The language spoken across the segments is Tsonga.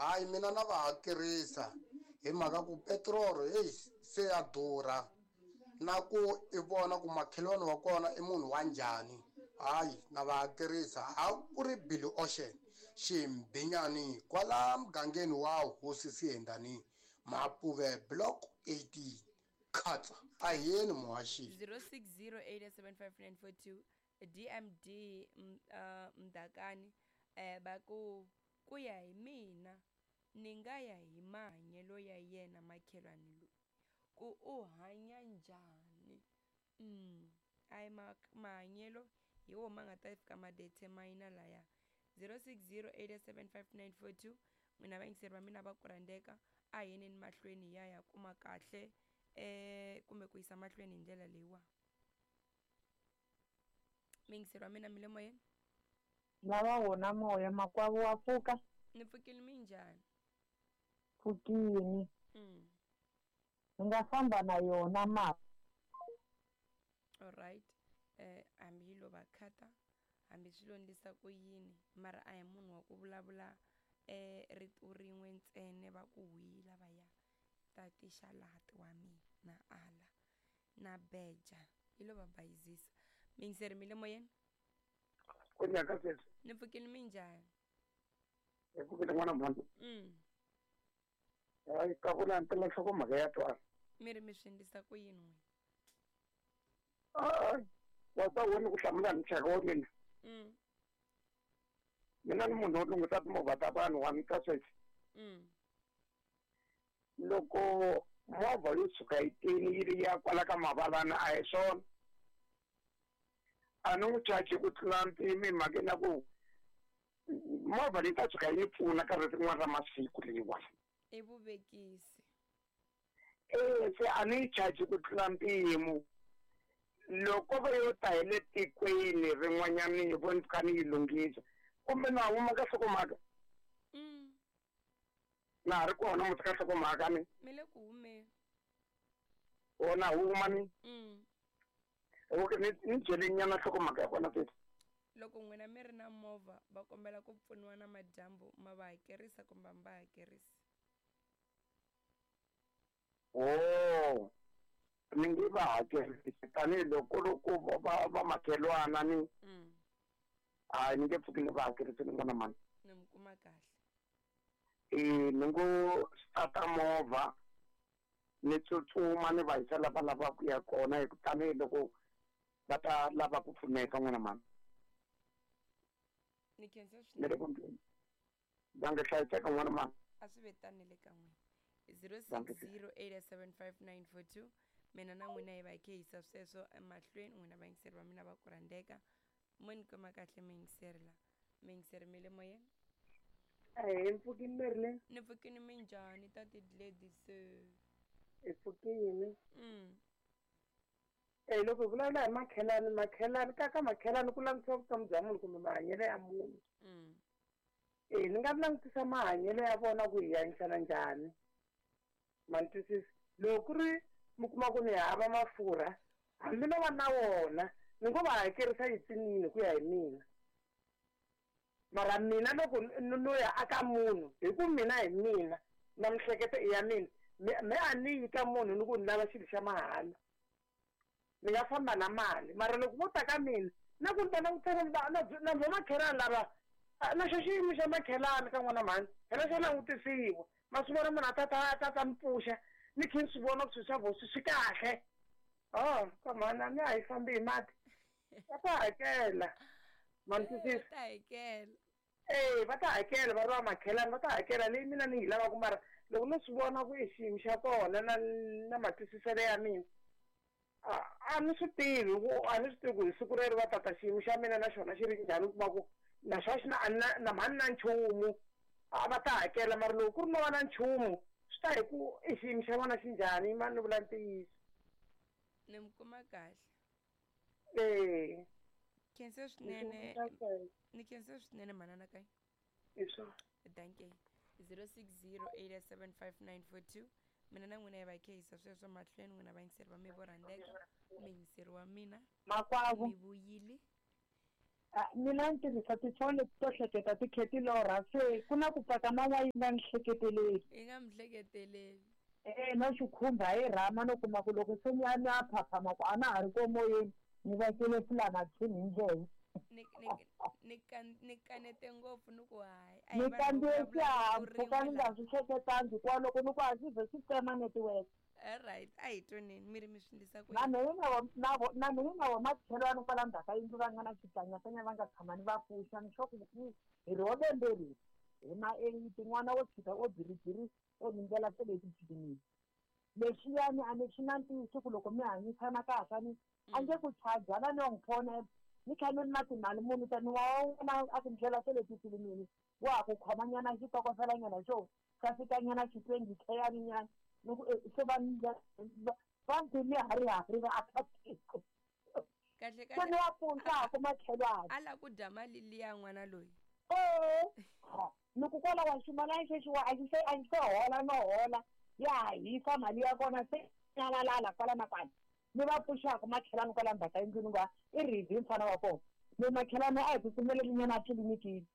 Hayi mina na va hakerisa hi mhaka ku petirolo heyi se ya durha na ku i vona ku makhelwani wa kona i munhu wa njhani hayi na va hakerisa a ku ri Billy Ocean Ximbinyani kwala mugangeni wa Hosi Sihendani Mapuve Block 18 khatsa a hi yeni muhaxi. 06087594 DMD Mdakani va ku ku ya hi mina ni nga ya hi mahanyelo ya yena makhelwani loyi ku u hanya njhani a hi mahanyelo hi wo ma nga ta fika ma determine laya 06087594 n'wina vayingiseri va mina va ku rhandzeka a hi yeneni mahlweni hi ya ya kuma kahle kumbe ku yisa mahlweni hi ndlela leyiwa. Muyingiseri wa mina mi le moyeni? Lava wona moya makwavo wa pfuka. Ni pfukile minjhani? Pfukini. Ni nga famba na yona ma. Alright hambi yi lo va khata hambi swi lo ndlisa ku yini mara a hi munhu wa ku vulavula rito rin'we ntsena va ku hwi lavaya tati xalati wa mina na ala na beja yi lo va bayizisa. Miyingiseri mi le moyeni? Ku nyaka sweswi. Ni pfukile minjhani? Hi pfukile n'wana mhani. Hayi ka vula mpela nhlokomhaka ya twala. Mi ri mi swi endlisa ku yini n'wina? Hayi wa ta wena ku hlamula hi muxaka wa mina. Mina ni munhu wo lunghisa timovha ta vanhu wa ni twa sweswi. Loko movha yo tshuka yi tini yi ri ya kwala ka mavalana a hi swona. A ni n'wi charge ku tlula mpimo hi mhaka na ku movha leyi ta tshuka yi pfuna ka rin'wana ra masiku leyiwani. I vuvekisi. E se a ni yi charge ku tlula mpimo. Loko va yo ta hi le tikweni rin'wanyana hi vo ni kha ni yi lunghisa kumbe na huma ka nhlokomhaka. Na ha ri kona muti ka nhlokomhaka ni. Mi le ku humeni. O na huma ni. Okay, ni byele nyana nhlokomhaka ya kona sweswi. Loko n'wina mi ri na movha va kombela ku pfuniwa na madyambu ma va hakerisa kumbe a mi va hakerisi? Oh, ni nge va hakerisi tanihiloko loko va va makhelwana ni. Hayi ni nge pfuki ni va hakerisi ni n'wana mhani. Ni mi kuma kahle. E ni ngo start movha ni tsutsuma ni va yisa la va lavaka ku ya kona hi ku tanihiloko va ta lava ku pfuneka n'wana mhani. Ni khensa Ni swinene. le ku ndleni. Va nga hlayiseka n'wana mhani. A swi ve tani le ka n'wina. 06087594 mina na n'wina hi va hi khe hisa sweswo emahlweni n'wina vayingiseri va mina va ku rhandzeka mo ni kuma kahle muyingiseri la muyingiseri mi le moyeni? Ahee, mpfukini Merlin. Ni pfukini minjhani tati Gladys? Hi pfukini. Loko hi vulavula hi makhelani, makhelani ka ka makhelani ku langutisiwa vutomi bya munhu kumbe mahanyelo ya munhu. Ni nga langutisa mahanyelo ya vona ku hi hanyisana njhani. Ma ni twisisa? Loko ku ri mi kuma ku ni hava mafurha, hambi no va na wona, ni ngo va hakerisa yitsinini ku ya hi mina. Mara mina loko no ya aka munhu, hi ku mina hi mina, na mihleketo i ya mina, me a ni yi ka munhu ni ku ni lava xilo xa mahala. Ni nga famba na mali, mara loko vo ta ka mina, na ku ni ta langutela na vo makhelani lava, na xo xiyimo xa makhelani ka n'wana mhani, phela xa langutisiwa. Ma swi vona munhu a ta ta ta mi pfuxa, ni khe ni swi vona ku swilo swa vona swi kahle. Oh, ka mhani a ni a hi fambi hi mati. Va ta hakela. Ma ni twisisa? Va ta hakela. Eh, va ta hakela va ri va makhelani, va ta hakela leyi mina ni yi lavaka mara loko no swi vona ku i xiyimo xa kona na na matwisiselo ya mina. A ni swi tivi ku a ni swi tivi ku hi siku rero va tata xiyimo xa mina na xona xi ri njhani u kuma ku na xona xi na a na na mhani na nchumu a va ta hakela mara loko ku ri no va na nchumu swi ta hi ku i xiyimo xa vona xi njhani ma ni vula ntiyiso. Ni mi kuma kahle. Eh. Khensa swinene. Ni khensa swinene manana kayi. Hi swona. Dankie. 06087594 mina na n'wina hi va hi khe hisa sweswo mahlweni n'wina vayingiseri va mi vo rhandzeka muyingiseri wa mina Makwavo. mi vuyile. Mina ni tirhisa tifoni leti to hleketa ti khe ti lorha se ku na ku paka man'wa yi nga ni hleketeleli. Yi nga mi hleketeleli. E-e no xi khumba hi rhama no kuma ku loko se ni ya ni ya phaphama ku a na ha ri ko moyeni ni vekele fulanatshini hi ndleve. Ni ni ni kan ni kanete ngopfu ni ku hayi a hi Ni vanhu vo kandziye vulavula rito xihahampfhuka rin'we ni nga la. swi hleketangi hikuva loko ni ku a xi ze xi tsema network. Alright a hi twaneni mi ri mi swi endlisa ku Na yini? mehe na vo na vo na mehe na vo makhelwani kwala ndzhaku ka yindlu va nga na xikanyakanya va nga tshama ni va pfuxa ni sure ku hi ro lembe leri hi ma eight n'wana wo tshika o biribiri o ni ndlela se leyi tifilimini lexiyani a ni swi na ntiyiso ku loko mi hanyisana kahle a ni a nge ku chajana ni yo n'wi fona ni kha ni ri na timali muni ta ni wa wena a ku ndlela se le tifilimini wa ha ku khomanyana xitokofelanyana xo xa fikanyana xi twenty k nyana ni ku se va va ndzi harihari va akatiko Kahle se kahle ni wa pfuxaku makhelwani a la ku dya mali liya n'wana loyi. ee ni ku kwala wa ximalani xexiwa a xi se a xi se hola no hola ya ha hisa mali ya kona se nyamalala kwala na kwala ni va pfuxaku makhelwani kwala ndzhaku ka yindlu ni ku i ridi mfana wa kona ni makhelwani a hi tsutsumeli nyana etlilinikini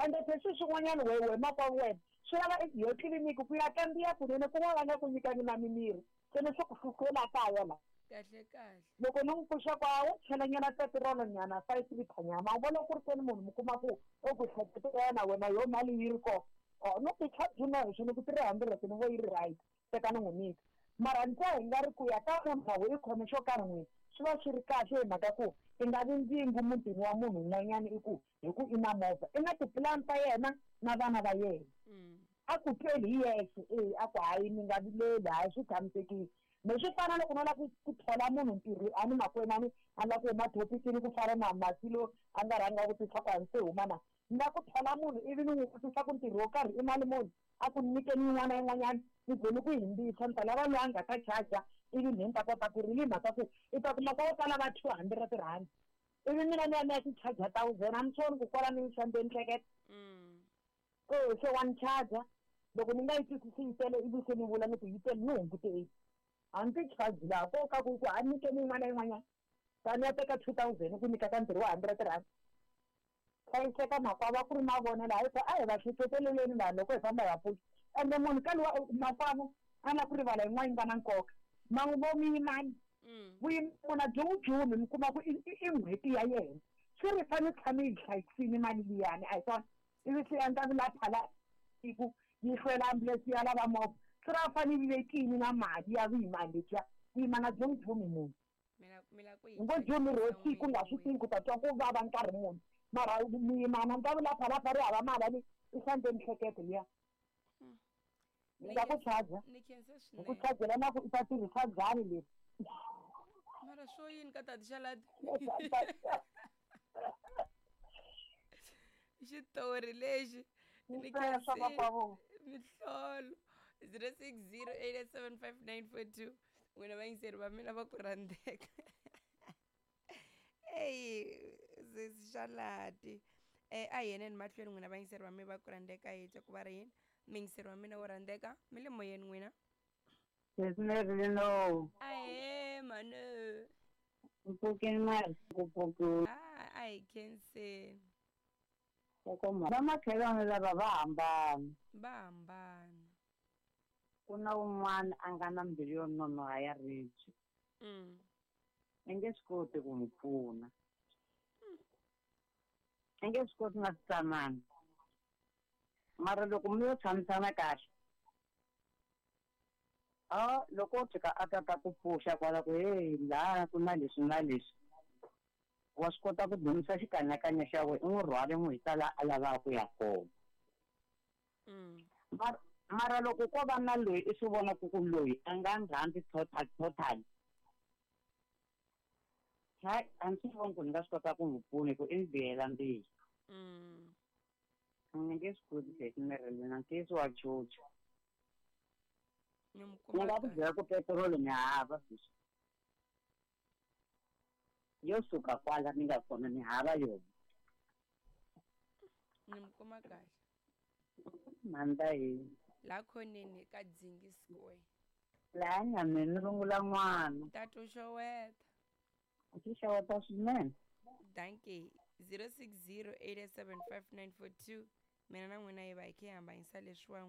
ende se swi swin'wanyana we we makwavo wena swi lava i yo tliliniki ku ya kambiya kunene ku va va nga ku nyikangi na mimirhi se ni swi ku hluhlula kaya la Kahle kahle. loko ni n'wi pfuxa kwa wo chelanyana petirolo nyana 5 liter nyana ma vona ku ri keni munhu mi kuma ku o ku hleketa na wena yo mali yi ri kona o no ti charge na hi ni ku 300 ni vo yi ri right teka ni n'wi nyika mara ni twa hi nga ri ku ya ka munhu na i khome xo karhi n'wini swi va swi ri kahle hi mhaka ku i nga vi ndzingu mutini wa munhu un'wanyana i ku hi ku i na movha i na tipulani ta yena na vana va yena a ku tweli hi yexe e a ku hayi mi nga vileli hayi swi tshamisekile me swi fana loko no lava ku thola munhu ntirho a ni makwenu a ni a lava ku huma thopikini ku fana na masi lo a nga rhanga vutisa ku a ni se huma na ni lava ku thola munhu ivi ni n'wi vutisa ku ntirho wo karhi i mali muni a ku nyikeni yin'wana yin'wanyana ni ze ni ku himbisa ni ta lava loyi a nga ta charger ivi ni ta kota ku ri hi mhaka ku i ta kuma ko tala va R200 ivi mina ni ya ni ya ti charger thousand a ni swi voni ku kwala ni xambe ni hleketa e se wa ni charger loko ni nga yi twisisi yi tele ivi se ni vula ni ku yi tele ni hungute a ni ti charge laha ko ka ku ku a nyikeni yin'wana yin'wanyana tani ya teka 2000 ku nyika ka ntirho wa R100 hlayiseka makwavo a ku ri mavonelo hayi ku a hi va hleketeleleni vanhu loko hi famba hi va pfuxa ende munhu ka luwa makwavo a na ku rivala yin'wana yi nga na nkoka vo muyimani vuyimana byi n'wi jumi mi kuma ku i n'hweti ya yena swi ri fane tshame yi hlayisini mali liyani a hi swona ivi swi endla vulaphala ku yi hlwela ambulense ya lava movha swi ra fane yi vekini na mali ya vuyimani lebyiya vuyimana byi n'wi jumi munhu ngo jumi ro siku nga swi tivi ku ta twa ku vava nkarhi muni mara muyimana ni ta vulaphalapha ri hava mali ani i hlambe mihleketo liya ni nga ku charger Ni khensa hi ku swinene. chargela na ku i ta tirhisa njhani leri Mara swo yini ka tati Xalati? Xitori lexi ni Sweswo makwavo. mihlolo 0608875942 n'wina vayingiseri va mina va ku rhandzeka eyi sesi Xalati a hi yeneni mahlweni n'wina vayingiseri va mina va ku rhandzeka hi twa ku va ri yini muyingiseri wa mina wo rhandzeka mi le moyeni n'wina. Sesmerlino, Ahee mhani. mpfukeni mali ku pfukiwa. A hi khenseni. Vamakhelwani lava va hambana. Va hambana. Ku na un'wana a nga na mbilu yo nonoha ya ribye. I nge swi koti ku n'wi pfuna. I nge swi koti na switsanana. Mara loko mi yo tshamisana kahle, a loko o tshika a ta ta ku pfuxa kwala ku hey laha ku na leswi na leswi wa swi kota ku dumisa xikanyakanya xa wena i n'wi rhwale n'wi yisa laha a lavaka ku ya kona. Mara loko ko va na loyi i swi vonaka ku loyi a nga ni rhandzi total total hayi a ni swi voni ku ni nga swi kota ku n'wi pfuna hi ku i ni bihela mbilu. Ni nge swi koti sesi Marilyn ntiyiso wa chucha. Ni mi Ni kuma nga ku kahle. byela ku petiroli ni hava sweswi. Yo suka kwala ni nga kona ni hava yona. Ni mi kuma kahle. Mhanda yini. La khoneni ka Dzingi Square. Laha nyameni ni rungula n'wana. Tatu xoweta. Xi xeweta swinene. Dankie. 060 875 942. Mina na n'wina hi va hi khe hi hambanyisa leswiwa.